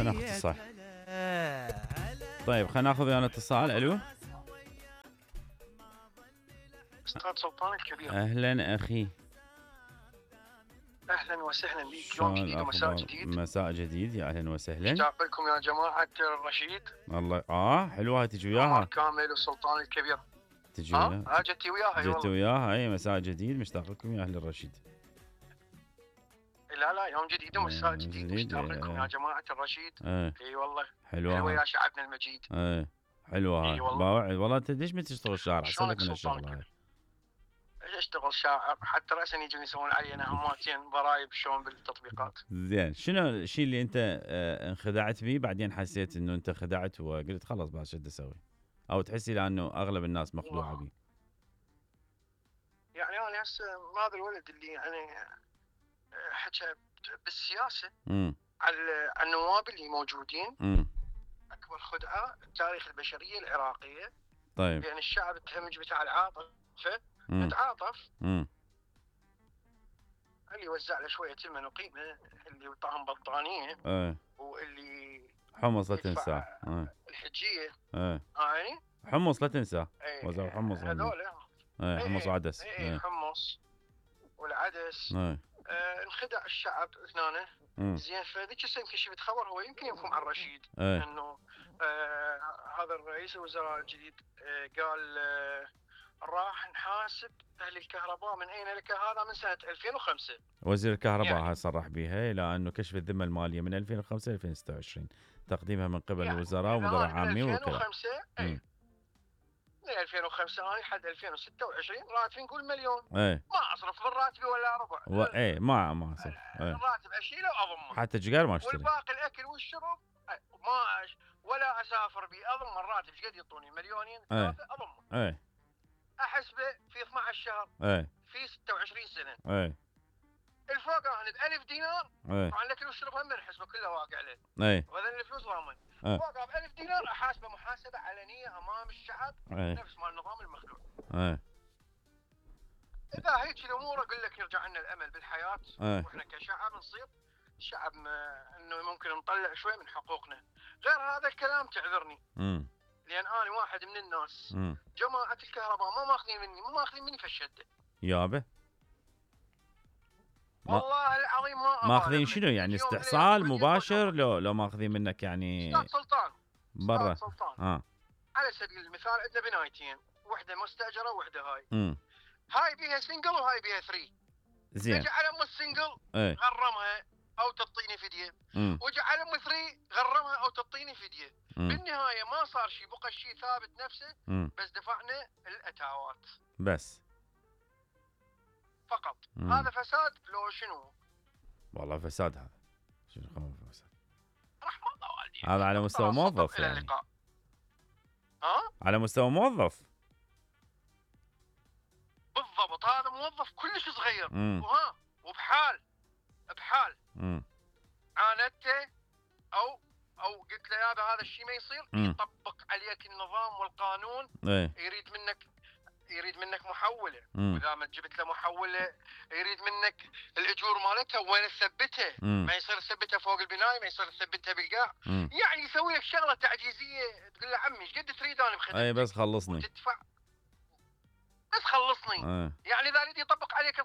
ناخذ اتصال. طيب خلينا ناخذ ويانا اتصال. الو استاذ سلطان الكبير. اهلا اخي. اهلا وسهلا بك. يوم جديد ومساء جديد. مساء جديد، يا اهلا وسهلا. اشتاق لكم يا جماعه الرشيد. الله حلوه هاي، تجي وياها كامل والسلطان الكبير. تجي وياها. جتي وياها. جت وياها. اي مساء جديد، مشتاق لكم يا اهل الرشيد. لا يوم جديد ومساء جديد، مشتاق لكم يا جماعه الرشيد. اي والله حلوه يا شعبنا المجيد. حلوه هاي. والله انت ليش ما تشتغل شاعر؟ احسن لك من الشغل هاي. اشتغل شاعر حتى راسا يجون يسوون علينا هماتين ضرايب شلون بالتطبيقات. زين، شنو الشيء اللي انت انخدعت به بعدين حسيت انه انت خدعت وقلت خلاص بس شو بدي اسوي؟ او تحسي لانه اغلب الناس مخدوعه به؟ يعني انا هسه هذا الولد اللي يعني حكى بالسياسه على النواب اللي موجودين. اكبر خدعه تاريخ البشريه العراقيه. طيب لان الشعب التهمج بتاع العاطفه تعاطف. اللي وزع له شويه المن وقيمه، اللي يعطاهم بطانيه، واللي حمص لا تنسى الحجيه. يعني حمص لا تنسى. وزع حمص هذول حمص وعدس. حمص والعدس. انخدع الشعب هنا. زين، فذيك السنه يمكن شفت خبر، هو يمكن يفهم عن رشيد انه هذا الرئيس الوزراء الجديد قال راح نحاسب اهل الكهرباء. من اين لك هذا؟ من سنه 2005. وزير الكهرباء يعني هاي صرح بها، الى انه كشف الذمه الماليه من 2005 ل 2026 تقديمها من قبل يعني الوزراء ومدراء عامين وكذا. من 2005 هاي لحد 2026 راتبي نقول مليون. ما اصرف من راتبي ولا ربع. ما اصرف. الراتب اشيله واضمه. حتى جقال ما اشتري. والباقي الاكل والشرب ولا اسافر بي. اضم الراتب ايش قد يعطوني؟ مليونين ثلاثه اضمه. احسبه في 12 شهر. في 26 سنه. الفوق انا ب1000 دينار. طبعا الاكل والشرب هم نحسبه كله واقع له. وهذول الفلوس ضامن. فوق ب1000 دينار احاسبه محاسبه علنيه امام الشعب. نفس ما النظام المخلوع. اذا هيك الامور اقول لك يرجع لنا الامل بالحياه. واحنا كشعب نصير شعب انه ممكن نطلع شوي من حقوقنا. غير هذا الكلام تعذرني. لان انا واحد من الناس. جماعه الكهرباء ما ماخذين مني فشده. يابا والله العظيم ماخذين شنو يعني؟ استحصال مباشر لو ماخذين منك يعني؟ استاذ سلطان برا. على سبيل المثال عندنا بنايتين، وحده مستاجره وحده هاي. هاي بيها سنجل وهاي بيها 3. زين. اجى على ام السنجل غرمها او تعطيني فديه. وجا على ام 3 غرمها او تعطيني فديه. بالنهايه ما صار شيء، بقى الشيء ثابت نفسه. بس دفعنا الاتاوات بس فقط. هذا فساد لو شنو؟ والله فساد هذا. شنو خبر فساد؟ رحمة الله والدي. هذا على مستوى موظف يعني. على مستوى موظف بالضبط. هذا موظف كلش صغير. وبحال عاندته او قلت له يابا هذا الشيء ما يصير. يطبق عليك النظام والقانون. يريد منك محوله. واذا ما جبت له محوله يريد منك الاجور مالتها وين تثبتها. ما يصير تثبتها فوق البنايه، ما يصير تثبتها بالقاع. يعني يسوي لك شغله تعجيزيه. تقول له عمي ايش قد تريد انا بخدمتك؟ بس خلصني. تدفع بس خلصني. يعني اذا يريد يطبق عليك